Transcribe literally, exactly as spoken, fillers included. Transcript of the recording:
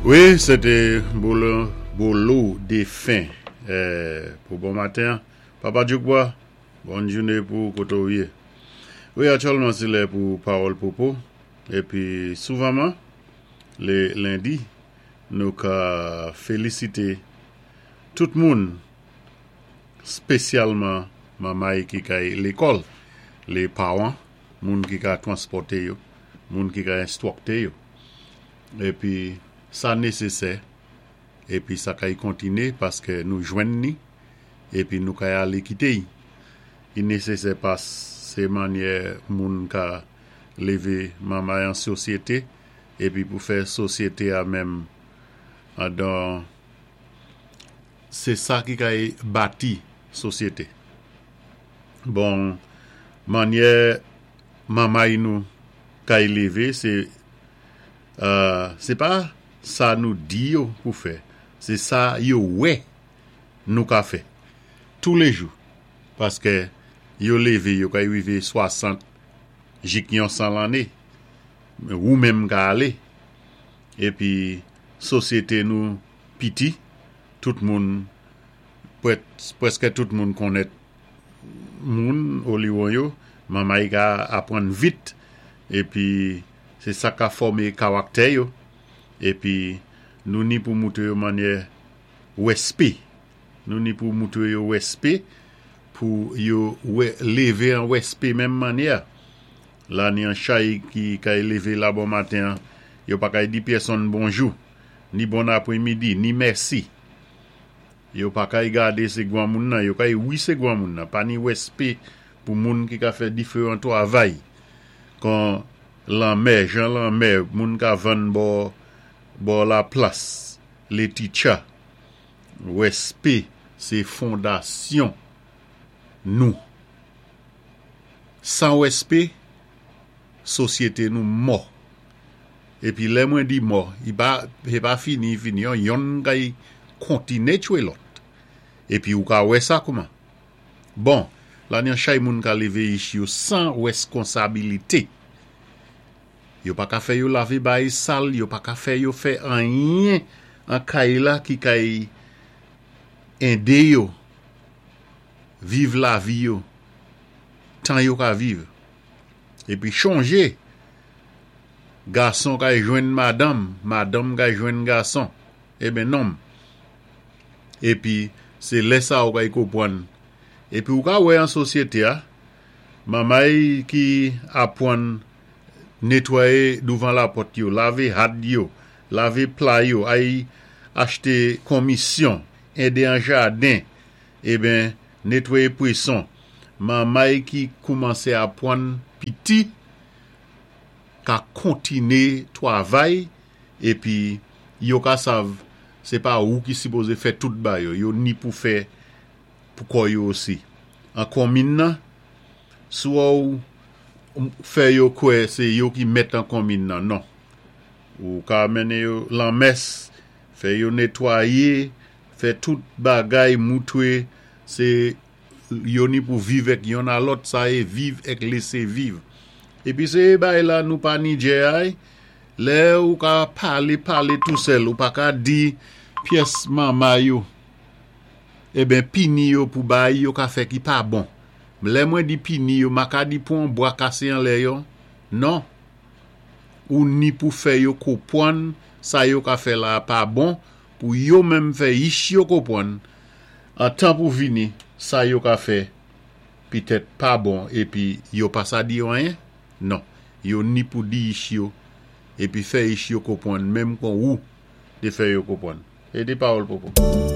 Wi, sé té Bolo, Bolo Défen euh, pou bon maten. Papa Djoukba, bòn jouné pou koté ou yé. Wi, aktyèlman sé lè pou Pawòl Popo. Épi souvanman, lé lendi, nou ka félisité tout moun, spésyalman manmay ki kay lékòl, lé pawan, moun ki ka transpòté yo, moun ki ka enstwikté yo. Épi sa nésésè, épi sa kay kontiné paské nou jwenn ni, épi nou kay alé kité. I nésésè pas sé mannyè moun ka lévé manmay an sosyété, épi pou fè sosyété a menm andan sé sa ki kay bati sosyété. Bon, mannyè manmay nou kay lévé, sé euh, sé pa sa nou di yo pou fè, sé sa yo wè nou ka fè toulé jou. Paské yo lévé, yo kay wivé swasant, jik yon san lanné, ou menm ka alé. Épi sosyété nou piti, tout moun, pwèskè tout moun konnèt moun oliwon yo, manmay ka apwann vit, épi sé sa ka fòmé kawaktè yo, épi nou ni pou moutré yo mannyè wèspé. Nou ni pou moutré yo wèspé, pou yo wè, lévé an wèspé menm mannyè. La ni an chay ki kay lévé la bon maten, yo pa kay di pèsonn bonjou, ni bon apwémidi, ni mèsi. Yo pa kay gadé sé gwan moun nan, yo kay wi sé gwan moun nan, pa ni wèspé pou moun ki ka fè diféwan twavay. Kon lanmè, jan lanmè, moun ka vann bò, bò la plas, lé titcha. Wèspé, sé fondasyon nou. San wèspé, sosyété nou mò. Épi lè mwen di mò, i pa, sé pa fini, fini, yon, yonn kay kontiné tchwé lòt. Épi ou ka wè sa kouman. Bon, la ni an chay moun ka lévé ich yo san wèskonsabilité. Yo pa ka fè yo lavé bay sal, yo pa ka fè yo fè anyen an kay la ki kay édé yo viv lavi yo, tan yo ka viv. Épi chonjé, gason kay jwenn madanm, madanm kay jwenn gason, eben nonm. Épi sé lè sa ou kay konpwann. Épi ou ka wè an sosyété a, manmay ki apwann netwayé douvan lapòt yo, lavé had yo, lavé pla yo, ay achté konmisyon, édé an jaden, eben netwayé pwéson. Manmay ki koumansé apwann piti, ka kontiné twavay, épi yo ka sav, sé pa ou ki sipozé fè tout ba yo, yo ni pou fè pou kò yo osi. An konmin nan, swa ou fè yo kwè sé yo ki mèt an konmin nan, non. Ou ka mennen yo lanmès, fè yo netwayé, fè tout bagay moutwé, sé yo ni pou viv èk yonn a lòt, sa é viv èk lésé viv. Épi sé bay la nou pa ni djè ay, lè ou ka palé, palé tou sèl, ou pa ka di pyès manmay yo, eben pini yo pou bay yo ka fè ki pa bon. Lè mwen di pini yo, ma ka di pou an bwa kasé an lè yo, non. Ou ni pou fè yo konpwann, sa yo ka fè la pa bon, pou yo menm fè ich yo konpwann, an tan pou vini, sa yo ka fè, pitèt pa bon, épi yo pa sa di yo anyen, non. Yo ni pou di ich yo, épi fè ich yo konpwann, menm kon ou, té fè yo konpwann. É té Pawòl Popo.